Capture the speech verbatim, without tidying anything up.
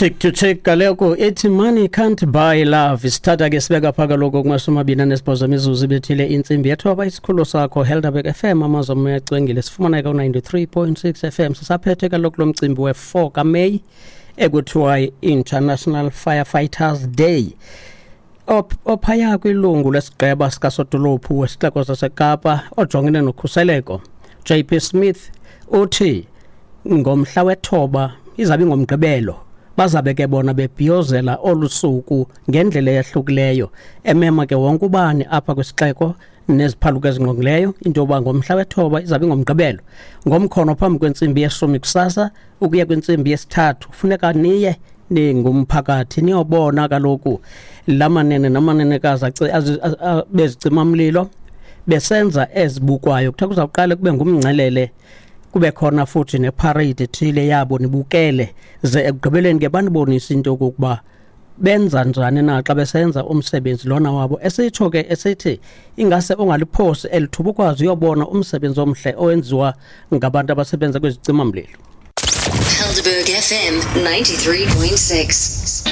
Tick to tick kaloku ithi "Money Can't Buy Love". Isithatha ke sibeka pha kaloku kumashumi amabini anesibhozo imizuzu ibethile intsimbi yethoba. Isikhululo sakho Helderberg F M, amazwi amoya acwengile. Sifumaneka ku-ninety-three point six F M. Sisaphethe kaloku lo mcimbi we-four kaMeyi ekuthiwa yi-International Firefighters Day. Op- ophaya kwilungu lesigqeba sikasodolophu wesixeko saseKapa ojongene nokhuseleko, J P Smith, uthi ngomhla wethoba, izabe ingomgqibelo, bazabe ke bona bebhiyozela olu suku ngendlela eyahlukileyo, emema ke wonke ubani apha kwisixeko neziphaluko ezingqongileyo into yoba ngomhla wethoba, izabe ingomgqibelo, ngomkhono phambi kwentsimbi yeshumi kusasa ukuya kwintsimbi yesithathu, funeka niye ningumphakathi niyobona kaloku la manene namanenekazi aci- azi- a- a- bezicimamlilo besenza ezibukwayo. Kuthiwa kuzawuqale kube ngumngcelele, kube khona futhi neparade ethile yabo, nibukele, ze ekugqibeleni ke banibonise into yokokuba benza njani na xa besenza umsebenzi lona wabo. Esitsho ke esithi ingase ungaliphosi elithuba ukwazi uyobona umsebenzi omhle owenziwa ngabantu abasebenza kwezicimamlilo. Helderberg F M ninety-three point six.